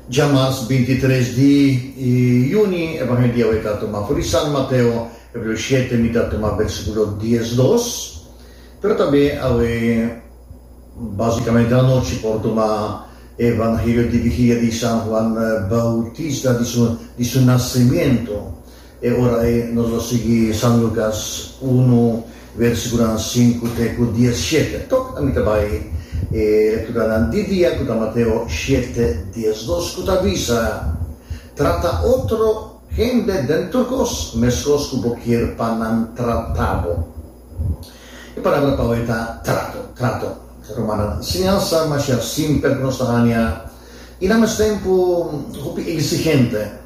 Djamas 23 di yüni, Evangelio di awe ta tuma for di San Mateo, kapitulo shete, mi ta tuma versíkulo diesdos. Pero tambe awe básikamente anochi por tuma Evangelio di vigilia di San Juan Bautista di su di su nasimiento. E ora ei nos lo sigui San Lukas unu versíkulonan sinku te ku diesshete. Tok ami ta bai e lekturanan di dia ku ta Mateo shete diesdos ku ta bisa, Trata otro hende den tur kos meskos ku bo kier pa nan trata bo. E palabra pa awe ta trato, trato. Rumannan, siñansa masha simpel ku nos ta haña i na mes tempu hopi eksigente.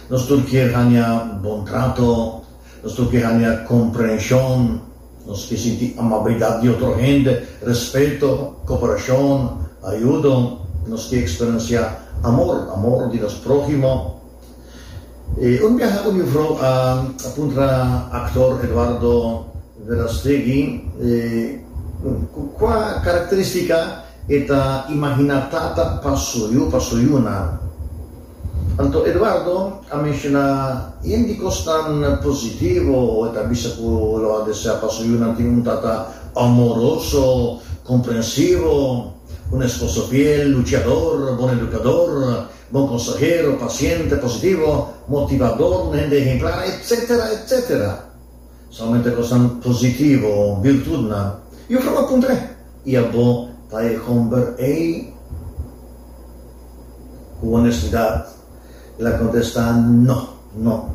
Nos tur kier haña bon trato, nos tur kier haña komprenshon, nos ke sinti amabilidat di otro hende, respeto, koperashon, ayudo, nos ke eksperensiá amor, amor di nos próhimo. Un biaha un yufrou a puntra aktor Eduardo Verástegui ku kua karakterístika e ta imaginá tata pa su yu, pa su yunan. Anto Eduardo a menshoná yen di kosnan positivo, e ta bisa ku lo a deseá pa su yunan tin un tata amoroso, komprensivo, un esposo fiel, luchador, bon edukador, bon konsehero, pasiente, positivo, motivador, un hende ehemplar, etcétera, etcétera. Solamente kosnan positivo, birtutnan. Yufrou a puntr'é, I abo ta e homber ei? Ku honestidat, el a kontestá, No, no.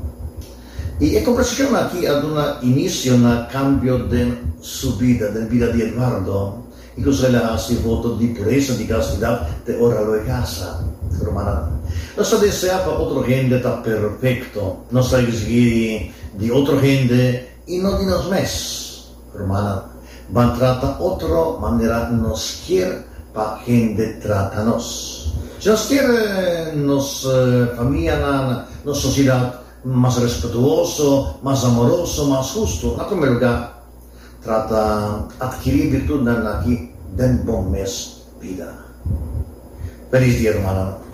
I e kombersashon aki a duna inisio na kambio den su bida, den bida di Eduardo, i ku el a hasi voto di puresa di kastidat te ora lo e kasa. Rumannan, nos ta deseá pa otro hende ta perfekto. Nos ta eksigí di otro hende i no di nos mes. Rumannan, ban trata otro manera nos kier pa hende trata nos. Si nos kier nos famianan, nos sosiedat mas respetuoso, mas amoroso, mas hustu, na promé lugá, trata atkirí birtutnan aki den bo mes bida. Felis dia, rumannan.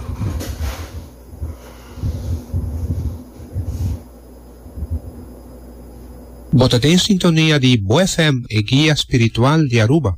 Bo ta den sintonia di Bo FM, e guia spiritual di Aruba.